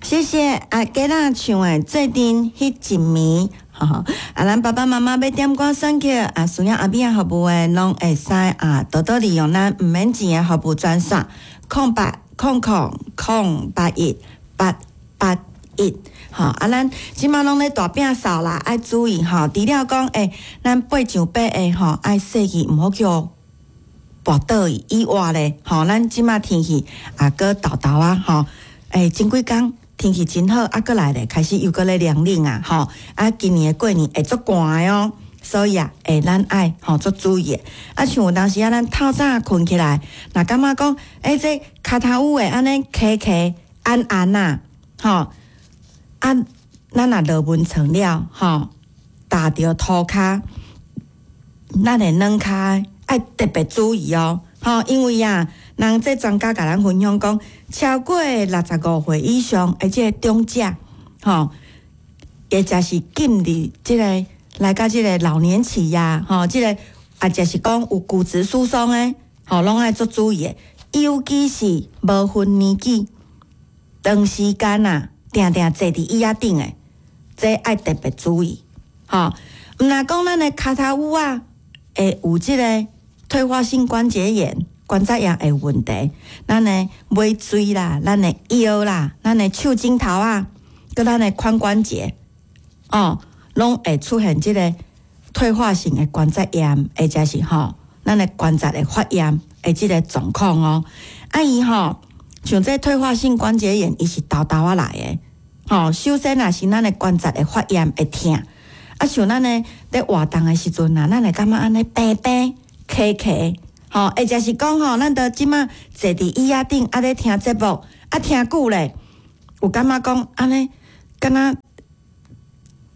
謝謝阿吉仔唱的《做陣彼一暝》，吼，啊，咱爸爸媽媽欲點歌選曲啊，需要阿米仔服務的，攏會使啊，多多利用咱毋免錢的服務專線，0800 008 881。吼，啊，咱這馬攏咧大摒掃啦，愛注意吼。除了講，咱爬上爬下吼，愛細意，毋好予跋倒去以外咧，吼，咱這馬天氣啊，閣沓沓仔，吼，前幾工天氣真好，啊，閣來咧，開始又閣咧涼冷啊，吼，啊，今年的過年會足寒的哦，所以啊，咱愛吼足注意的。啊，像有當時啊，咱透早睏起來，若感覺講，這跤頭趺會按呢磕磕按按啊，吼，啊，咱若落眠床了，吼，踏著塗跤，咱的軟跤愛特別注意哦，吼，因為啊，人這專家共咱分享講，超過65歲以上的這個長者，吼，或者是進入這個來到這個老年期呀，吼，這個啊，就是講有骨質疏鬆的，吼，攏愛足注意的，尤其是無分年紀，長時間啊，定定坐佇椅仔頂的，這愛特別注意，吼。毋若講咱的跤頭趺仔會有這個退化性關節炎、關節炎的問題，咱的尾椎啦、咱的腰啦、咱的手指頭仔，閣咱的髖關節，哦，攏會出現這個退化性的關節炎，或者是吼，咱的關節的發炎的這個狀況哦。啊，伊吼，像這退化性關節炎，伊是沓沓仔來的，吼，首先若是咱的關節會發炎會疼，啊，像咱的咧活動的時陣啊，咱會感覺按呢平平磕磕，吼，或者是講吼，咱著這馬坐佇椅仔頂啊咧聽節目，啊聽久咧，有感覺講按呢，敢若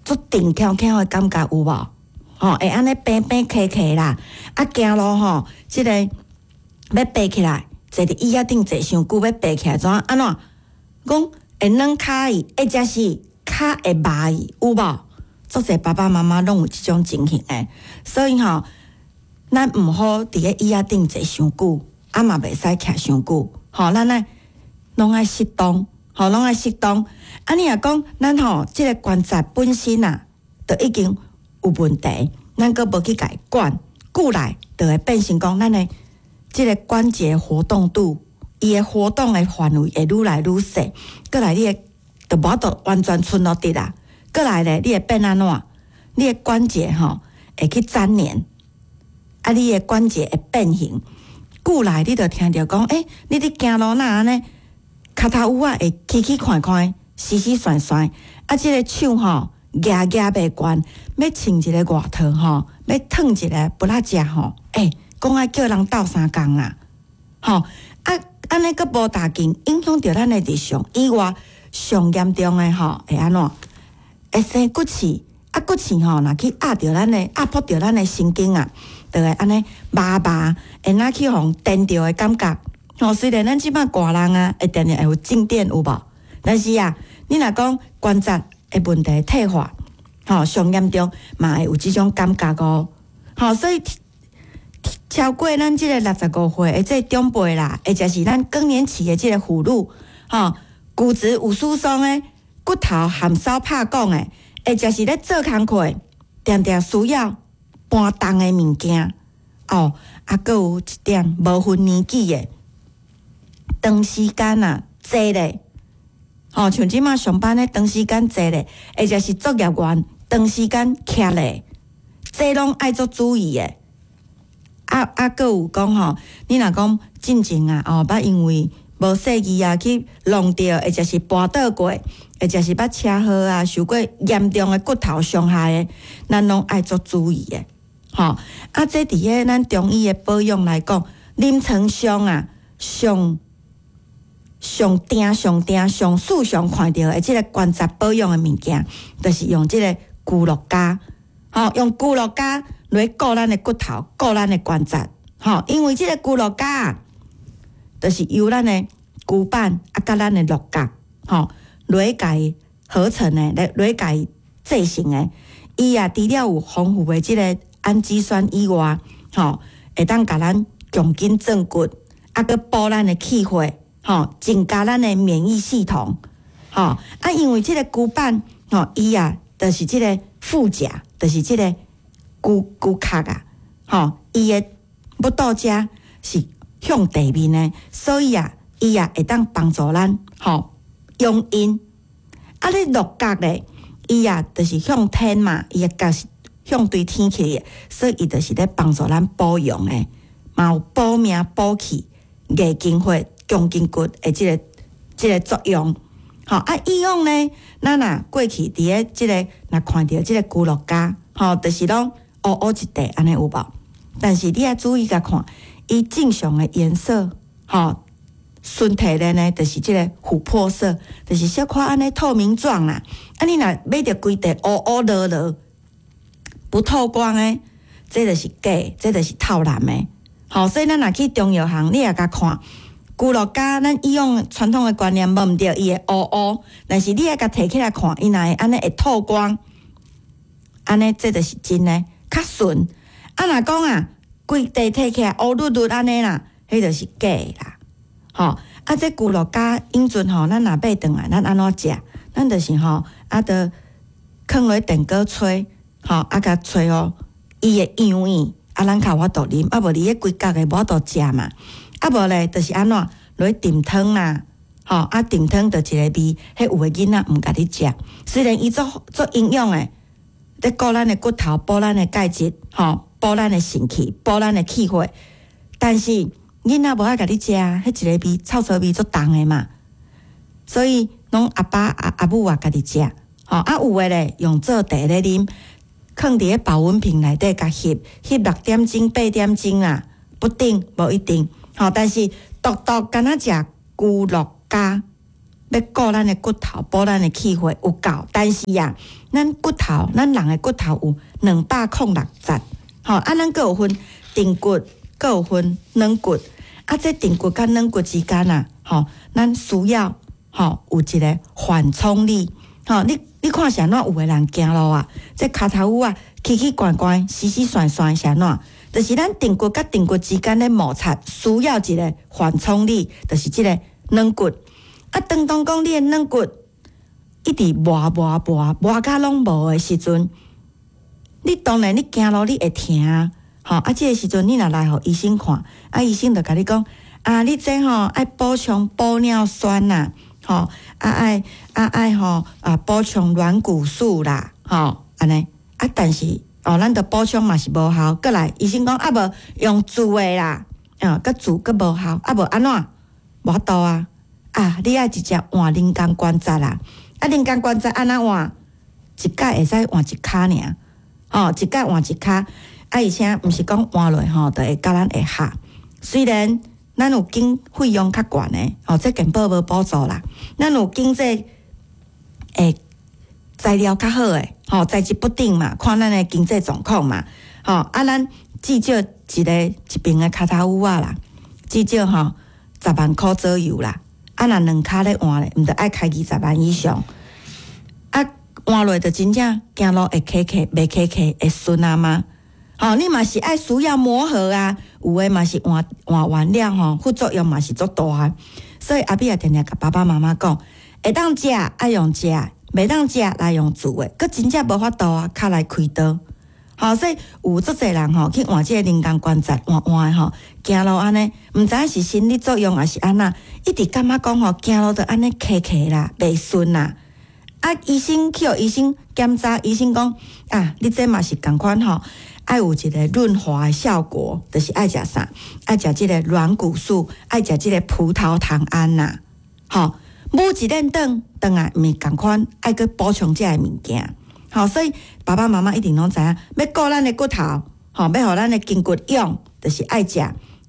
足定翘翹的感覺有無？吼，會按呢平平磕磕啦，啊行路吼，這個欲爬起來，坐佇椅仔頂坐傷久，欲爬起來怎按怎？講會軟跤去，或者是跤會麻去，有無？足濟爸爸媽媽攏有這種情形的，所以吼，咱毋好佇咧椅仔頂坐傷久，啊嘛袂使徛傷久，吼，咱愛攏愛適當，吼，攏愛適當。啊，你若講咱吼，這個關節本身啊，就已經有問題，咱閣無去共伊管，久來就會變成講咱的這個關節活動度，伊的活動的範圍會愈來愈細，閣來你會就無法度完全賰落直啦。閣來咧，你會變按怎？你的關節吼會去粘連，啊，你的關節會變形。久來你就聽著講，你佇行路哪按呢？跤頭趺仔會起起寬寬、絲絲旋旋，啊，這個手吼舉舉袂懸，欲穿一个外套吼，欲褪一个布仔食吼，講愛叫人鬥相共啊，吼，啊，按呢閣無大緊，影響著咱的日常以外，上嚴重的吼會按怎？會生骨刺，啊骨刺吼，若去壓著咱的壓迫著咱的神經啊，就會按呢麻麻，會若去予電著的感覺。吼，雖然咱這擺大人啊，會定定會有靜電有無？但是啊，你若講關節的問題退化，吼，上嚴重嘛會有這種感覺哦。吼，所以超過咱這個65歲的這個長輩啦，或者是咱更年期的這個婦女，吼，骨質有疏鬆的，骨頭含梢拍講的，或者是咧做工課，定定需要搬重的物件，哦，啊，閣有一點無分年紀的，長時間啊坐咧，吼，像這馬上班咧長時間坐咧，或者是作業員長時間徛咧，這攏愛足注意的。啊啊，閣有講吼，你若講進前啊，哦，捌因為無細意啊去弄著，或者是跋倒過，或者是捌車禍啊，受過嚴重的骨頭傷害的，咱攏愛足注意的，吼。啊，這佇咧咱中醫的保養來講，臨床上啊，上上定上定上時常看著的這個關節保養的物件，就是用這個龜鹿膠，吼，用龜鹿膠來顧咱的骨頭，顧咱的關節，吼，因為這個龜鹿膠就是由咱的龜板啊，佮咱的鹿角，吼，來共伊合成的，來共伊製成的。伊啊，除了有豐富的這個氨基酸以外，吼，會當共咱強筋壯骨，啊，閣補咱的氣血，吼，增加咱的免疫系統，吼，啊，因為這个龜板吼，伊啊，就是這个腹甲，就是這个龜龜殼啊，吼，伊的腹肚遮是向地面的，所以啊，伊啊會當幫助咱吼養陰。啊，你鹿角咧，伊啊就是向天嘛，伊的角是向對天去的，所以伊就是咧幫助咱補陽的，嘛有補命、補氣、硬筋血、強筋骨的這個作用。吼，啊，以往呢，咱若過去佇咧這个若看著這个龜鹿膠，吼，就是攏烏烏一塊按呢有無？但是你愛注意共看，伊正常的顏色，吼，純天然的，就是這个琥珀色，就是小可按呢透明狀啦。啊，你若買著規塊烏烏濁濁，不透光的，這就是假，這就是透藍的。吼，所以咱若去中藥行，你也共看。龜鹿膠，咱以往傳統的觀念無毋對，伊會烏烏，但是你愛共提起來看，伊若會按呢會透光，按呢這就是真的，較純。啊，若講啊，規塊提起來烏滷滷按呢啦，彼就是假的啦。吼，啊，這龜鹿膠以前吼，咱若買轉來，咱按怎食？咱就是吼，啊，著囥落電鍋炊，吼，啊，共炊予伊會溶去，啊，咱較有法度啉，啊，無你彼規角的無法度食嘛。啊，無咧，就是按怎落去炖湯啦，吼，啊，炖湯就一个味，彼有的囡仔毋共你食。雖然伊足足營養的，咧顧咱的骨頭，補咱的鈣質，吼，補咱的腎氣，補咱的氣血，但是囡仔無愛共你食，彼一個味，臭臊味足重的嘛。所以攏阿爸阿阿母啊家己食，吼，啊有的咧用做茶咧啉，囥佇咧保溫瓶內底共翕，翕6點鐘、8點鐘啦，不定無一定。吼，但是獨獨敢若食龜鹿膠，欲顧咱的骨頭，補咱的氣血有夠。但是啊，咱骨頭，咱人的骨頭有206節，吼，啊，咱閣有分硬骨，閣有分軟骨。啊，這硬骨佮軟骨之間啊，吼，咱需要吼有一个緩衝力。吼，你看是按怎有的人行路啊，這跤頭趺啊，奇奇怪怪、死死旋旋是按怎？就是咱硬骨佮硬骨之間咧摩擦，需要一个緩衝力，就是這个軟骨。啊，當當講你的軟骨一直磨磨磨磨甲攏無的時陣，你當然你行路你會疼啊。吼，啊，這个時陣你若來予醫生看，啊，醫生就共你講，啊，你這吼愛補充玻尿酸啦，吼，啊愛啊愛吼啊補充軟骨素啦，吼，按呢，啊，但是哦，咱著補充嘛是無效，閣來醫生講啊無用注的啦，啊，閣注閣無效，啊無按怎？無法度啊，啊，你愛直接換人工關節啦，啊，人工關節按怎換？一擺會使換一跤爾，吼，一擺換一跤，啊，而且毋是講換落吼，就會佮咱會合。雖然咱有經費用較懸的，吼，這健保無補助啦，咱有經濟會材料較好的，吼，材質不定嘛，看咱的經濟狀況嘛，吼，啊，咱至少一個一爿的跤頭趺仔啦，至少吼10萬箍左右啦，啊，若兩跤咧換咧，毋著愛開20萬以上，啊，換落就真正行路會磕磕，袂磕磕會順啊嗎？吼，你嘛是愛需要磨合啊，有的嘛是換換完了吼，副作用嘛是足大的，所以阿美也定定共爸爸媽媽講，會當食愛用食，袂當食來用注的，閣真正無法度啊，較來開刀。吼，所以有足濟人吼去換這个人工關節，換換的吼，行路按呢，毋知影是心理作用抑是按怎，一直感覺講吼，行路都按呢磕磕啦，袂順啦。啊，醫生去予醫生檢查，醫生講啊，你這嘛是仝款吼，愛有一個潤滑的效果，就是愛食啥？愛食這個軟骨素，愛食這個葡萄糖胺啦，吼，母一輪轉轉來，毋是仝款，愛閣補充這个物件。吼，所以爸爸媽媽一定攏知影，欲顧咱的骨頭，吼，欲予咱的筋骨勇，就是愛食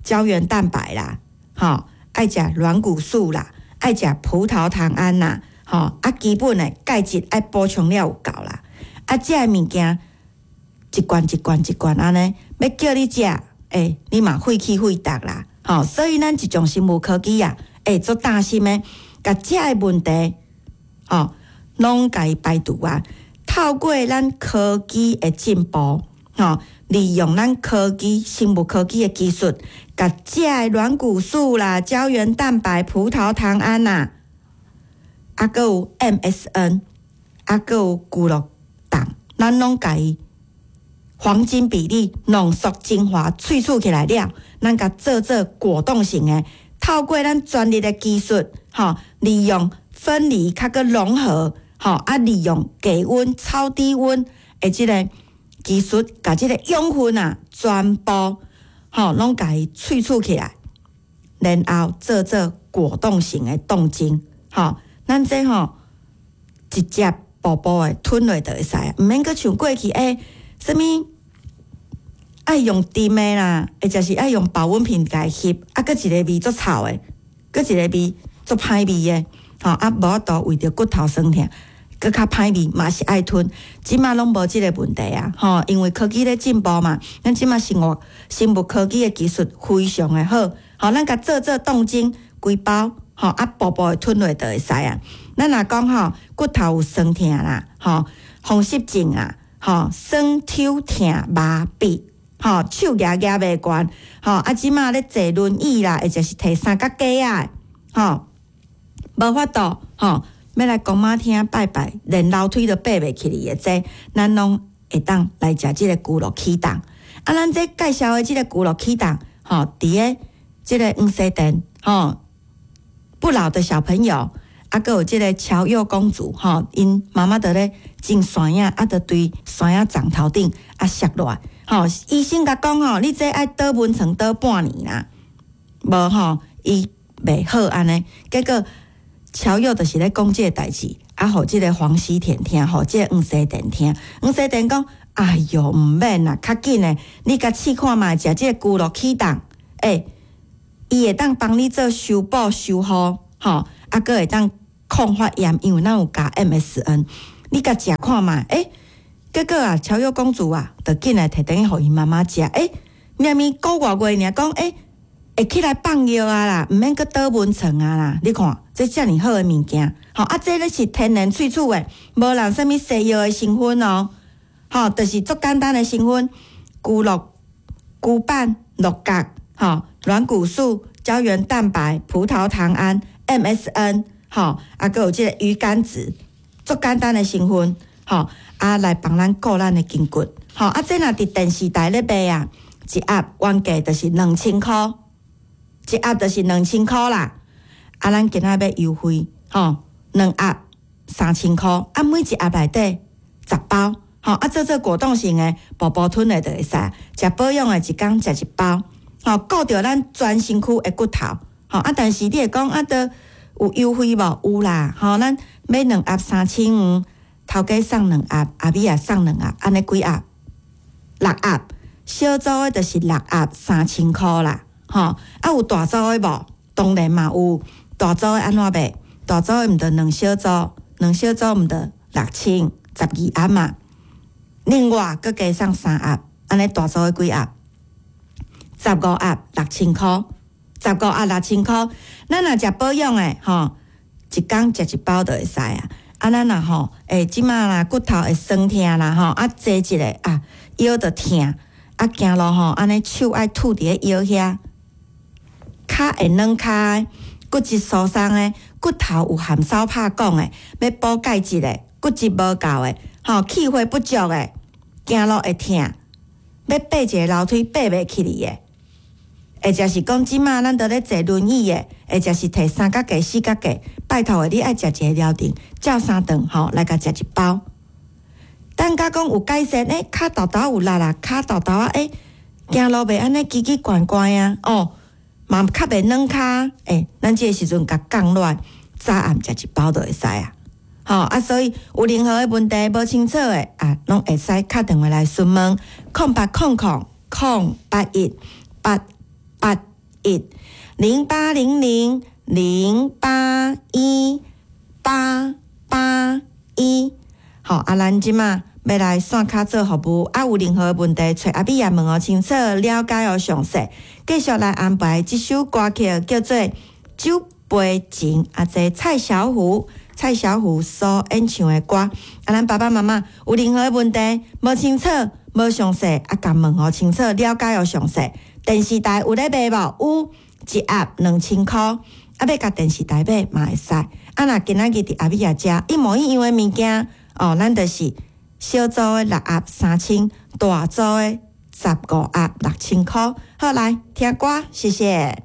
膠原蛋白啦，吼，愛食軟骨素啦，愛食葡萄糖胺啦，吼，啊，基本的鈣質愛補充了有夠啦，啊，這个物件一罐一罐一罐按呢，欲叫你食，欸，你嘛費氣費力啦，吼，所以咱一種生物科技啊，欸，足擔心的，共這个問題，吼，攏共伊排除啊。透過咱科技的進步，吼，利用咱科技、生物科技的技術，共這个軟骨素啦、膠原蛋白、葡萄糖胺啦，啊，閣有 MSN，啊，閣有龜鹿凍，咱攏共伊黃金比例濃縮精華萃取起來了，咱共做做果凍型的，透過咱專利的技術，吼，利用分離較閣融合，吼，啊，利用低溫、超低溫的這个技術，共這个養分啊，全部吼攏共伊萃取起來，然後做做果凍型的凍精，吼，咱這吼直接步步的吞落就會使，毋免閣像過去欸，啥物愛用甜的啦，或者是愛用保溫瓶共伊翕，啊，閣一个味足臭的，閣一个味足歹味的，吼啊，無法度為著骨頭酸疼，閣較歹味嘛是愛吞，這馬攏無這个問題啊，吼，因為科技咧進步嘛，咱這馬生物科技的技術非常的好，吼，咱共做做凍精規包，吼啊，步步的吞落就會使啊。咱若講吼骨頭有酸疼啦，吼風濕症啊，吼酸抽疼麻痹，吼手舉舉袂懸，吼啊，這馬咧坐輪椅啦，或者是提三腳架仔，吼無法度，吼欲來公媽廳拜拜，連樓梯都爬袂起來的，這咱攏會當來食這个龜鹿起凍。啊，咱這介紹的這个龜鹿起凍，吼佇个這个黃西田，吼不老的小朋友，啊，閣有這个喬佑公主，吼𪜶媽媽佇咧種山仔，啊，就對山仔長頭頂啊摔落來，吼醫生共講吼，你這愛倒眠床倒半年啦，無吼伊袂好按呢，結果喬佑就是咧講這个代誌，啊，予這个黃西田聽，予這个黃西田聽，黃西田講，哎喲，毋免啦，較緊的，你共試看覓，食這个龜鹿起凍，欸，伊會當幫你做修補修護，吼，啊，閣會當抗發炎，因為咱有加 MSN，你共食看覓，欸，結果啊，喬佑公主啊，就緊來提轉去予𪜶媽媽食，欸，明明個外月爾講，欸，會起來放藥啊啦，毋免閣倒眠床啊啦，你看這遮爾好的物件，吼啊，這咧是天然萃取的，無人啥物西藥的成分哦，吼，就是足簡單的成分，龜鹿、龜板、鹿角，吼，軟骨素、膠原蛋白、葡萄糖胺、MSN，吼，啊，閣有這个魚肝子，足簡單的成分，吼，啊，來幫咱顧咱的筋骨，吼，啊，這若佇電視台咧賣啊，一盒原價就是2000箍，一盒就是2000箍啦。啊，咱今仔欲優惠，吼，兩盒3000箍，啊，每一盒內底10包，吼，啊，做做果凍型的，步步吞的就會使，食保養的一工食一包，吼，顧著咱全身軀的骨頭，吼，啊，但是你會講啊，都有優惠無？有啦，吼，咱買兩盒3500，頭家送兩盒，阿美也送兩盒，按呢幾盒？六盒，小組的就是六盒3000箍啦，吼，啊有大組的無？當然嘛有，大組的按怎賣？大組的毋著兩小組，兩小組毋著6000，12盒嘛。另外，閣加送三盒，按呢大組的幾盒？15盒6000箍，15盒6000箍。咱若食保養的吼，一工食一包就會使啊。啊，咱若吼，欸，這馬啦骨頭會酸疼啦吼，啊坐一下啊腰就疼，啊行路吼按呢手愛拄佇咧腰遐，跤會軟跤的，骨質疏鬆的，骨頭有含燒拍講的，欲補鈣質的，骨質無夠的，吼氣血不足的，行路會疼，欲爬一个樓梯爬袂起來的，或者是講這馬咱都咧坐輪椅的，或者是提三腳架、四腳架，拜託的，你愛食一个療程，照三頓吼來共食一包。等甲講有改善，欸，跤豆豆有力啦，跤豆豆啊，欸，行路袂按呢奇奇怪怪啊，哦，嘛較袂軟跤，欸，咱這个時陣共降落來，早暗食一包就會使啊。吼啊，所以有任何的問題無清楚的啊，攏會使敲電話來詢問，0800 081 881，0800 081 881。好，啊，咱這馬欲來線跤做服務，啊，有任何的問題，揣阿美也問予清楚，了解予詳細。繼續來安排這首歌曲，叫做《酒杯情》，啊，這蔡小虎。蔡小虎所演唱的歌，啊，咱爸爸媽媽有任何的問題無清楚、無詳細，啊，共問予清楚、了解予詳細。電視台有咧賣無？有，一盒2000箍，啊，欲共電視台買嘛會使。啊，啊，若今仔日佇阿米亞食一模一樣的物件，哦，咱就是小組的六盒三千，大組的15盒6000箍。好，來聽歌，謝謝。